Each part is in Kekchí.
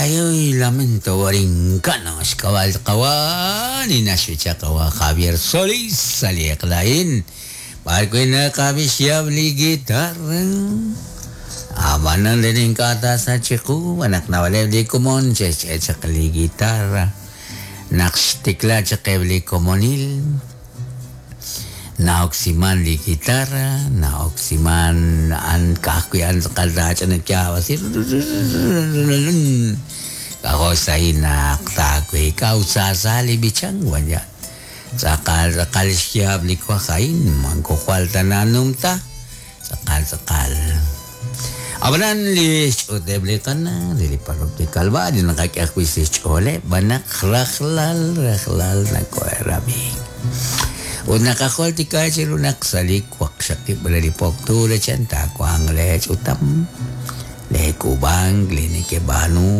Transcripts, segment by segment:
Ay, ay, Lamento Borincano, xk'ab'a' qawa' li naxb'icha qawa' Javier Solís sa' li eq'la a'in b'ar wi' naqab'i xyaab' li guitarra. Ab'anan re ink'a' taasach chiqu naq naab'aleb' li komon xe'xch'e' chaq li guitarra naq xtikla chaq eb' li komonil. Na'oksiman li guitarra, na'oksiman a'an ka'ajwi' a'an tz'aqal taach'ina yaab'asi k'ajo' xsahil naq taaweek'a ut saasa li b'ichank wan ya. Tz'aqal tz'aqal xyaab' li waj a'in moko jwal ta nanumta, tz'aqal tz'aqal. Ab'anan li xch'uuteb' li qana' re li parroquia Calvario naqak'e ajwi' sa' xch'ooleb' b'an naq rajlal rajlal nakohe'rab'i. Ut naqajultika chiru naq sa' li waqxaqib' re li po octubre chan taawanq lee ch'utam, lee k'uub'ank, li nekeb'aanu,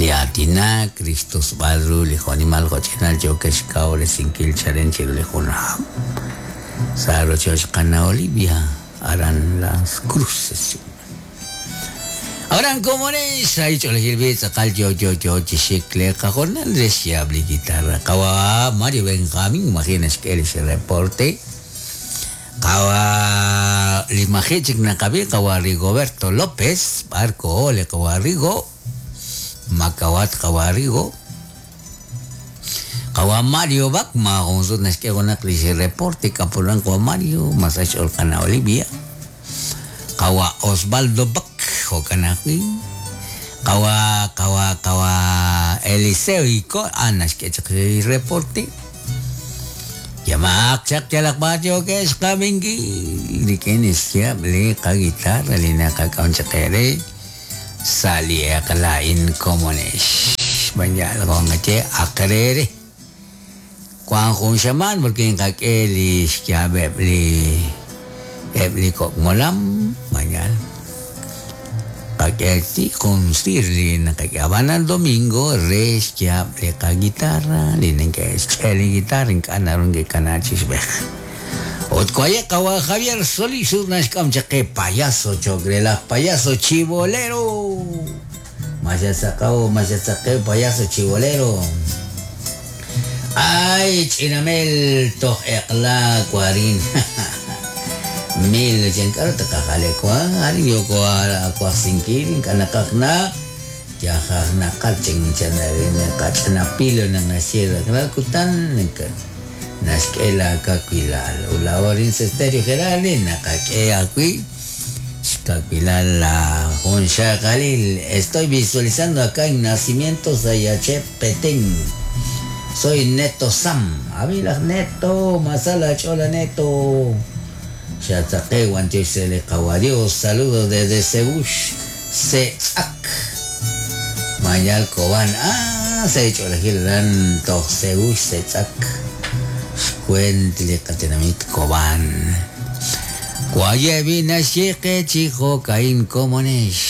li aatinak, li xtusb'al ru li jo'nimal jo'ch'inal yookex xkawresinkil chalen chiru li jun hab' sa' rochoch qana' Olivia aran Las Cruces. Aran komonex sa' ch'oolejil b'i tz'aqal yo yo yo chi xik le qajornal re xyaab' li guitarra. Qawa' Mario Benjamín maji' naxk'e li xreporte. Qawa' li maji' chik naqab'i qawa' Rigoberto López b'ar koho li qawa' Rigo makawat qawa' Rigo. Qawa' Mario Bak maajun sut naxk'e junaq li xreporte k'apulan qawa' Mario masa xch'ool qana' Olivia. Qawa' Osvaldo Bak jo'kan ajwi'. Qawa' qawa' qawa' Eliseo Iko a'an naxk'e chaq li reporte. Yamaaq chaq yalaq b'ar yookex qab'inkil rik'in xyaab' li qaguitarra li naqak'am chaq eere sa' li eq'la a'in komonex. B'an yal jo'nqaye aqrere. Wank jun xamaan porque nqak'e li xyaab'eb' li eb' li kok' molam mañana. Qak'e jun sir li naqak'e ab'anan domingo re xyaab' li qaguitarra li neke'xch'e li guitarra ink'a' naru neke'kana chi xb'ej. Ut waye' qawa' Javier Solís ut naxk'am chaq qe payaso cho'q re laj payaso chibolero. Maxatzaqaw maxatzaqew payaso chibolero. Ay, ch'inamel toj eq'la warin. Mil chan k'aru taqajale wa arin yoko awajsinkil ink'a' naqaj na yajaj naqal chan chan qach'inapilo naq naxye kutan naxk'e laakawilal ut laa'o arin sa' Stereo Gerardi naqak'e ajwi' xkawilal la jun xaqalil. Estoy visualizando acá en Nacimiento Sayachep Petén. Soy Neto Sam. Abilaj Neto, Masala Chola Neto. Xatzaqe Guantiox se Dios. Saludos desde Cebush, Setzak. Mayal Cobán. Ah, se Cholajil Toj Cebush, Setzak. Xcuentli Qatinamit Cobán. Guayevina Xieque Chijo Caín Comonesh.